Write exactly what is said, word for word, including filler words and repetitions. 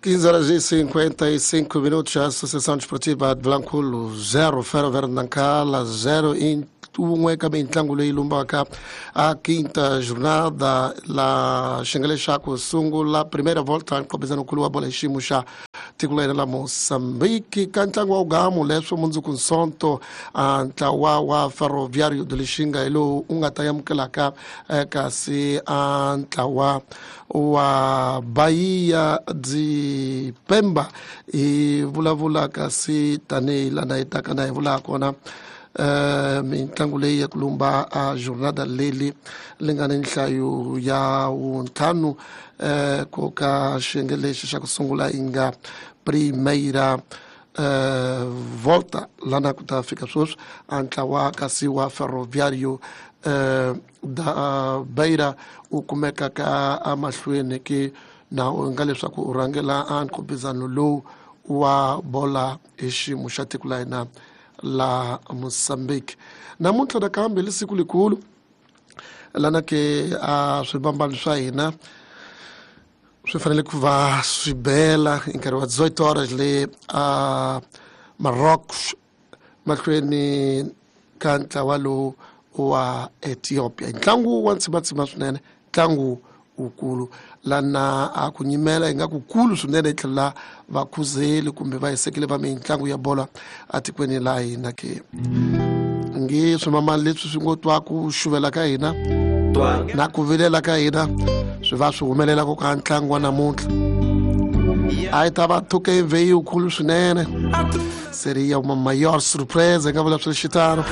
quinze horas e cinquenta e cinco minutos, a Associação Desportiva de Vilankulo zero, Ferro Verde Nacala zero em wun'we ka mitlangu leyi lumbaka a quinta jornada la xiyenge xa ku sungula primeira volta nqopezano-nkulu wa bola hi xiyimo xa tiko la hina la Mozambique. Ka ntlangu wa ugamu leswo mundzuku nsonto, a ntlawa wa Ferroviário de Lixinga hi lowu u nga ta amukelaka kasi a ntlawa wa Bahia de Pemba. Hi vulavula kasi tanihi lana hi taka na hi vulaka kona, uh, mitlangu leyi ya ku lumba a jornada leli li nga ni nhlayo ya wuntlhanu, uh, ku ka xiyenge lexi xa ku sungula yi nga primeira uh, volta. Lana ku ta fika sweswi a ntlawa kasi wa Ferroviário uh, da Beira u kumeka ka amahlweni ke na u nga leswaku u rhangela a nkhupizano lowu wa bola hi xiyimo xa tiko la hina la Mozambique. Namuntlha nakambe li siku likulu lana ke a swibambano swa hina swi fanele ku va swi bela hi nkarhi wa dezoito horas le a Marrocos mahlweni ka ntlawa lowu wa Ethiopia. Ntlangu wa ntsimatsima swinene, ntlangu wukulu lana a ku nyimela yi nga ku kulu swinene hi tlhela vakhuzeli kumbe va hisekile va mitlangu ya bola atikweni la hina ke nge swimamani leswi swi ngo twa ku xuvela ka hina na ku vilela ka hina swi va swi humelela ku ka ntlangu wa namuntlha. A yi ta va thuke vheyikulu swinene, seria uma maior surpresa nga vula swi xitano.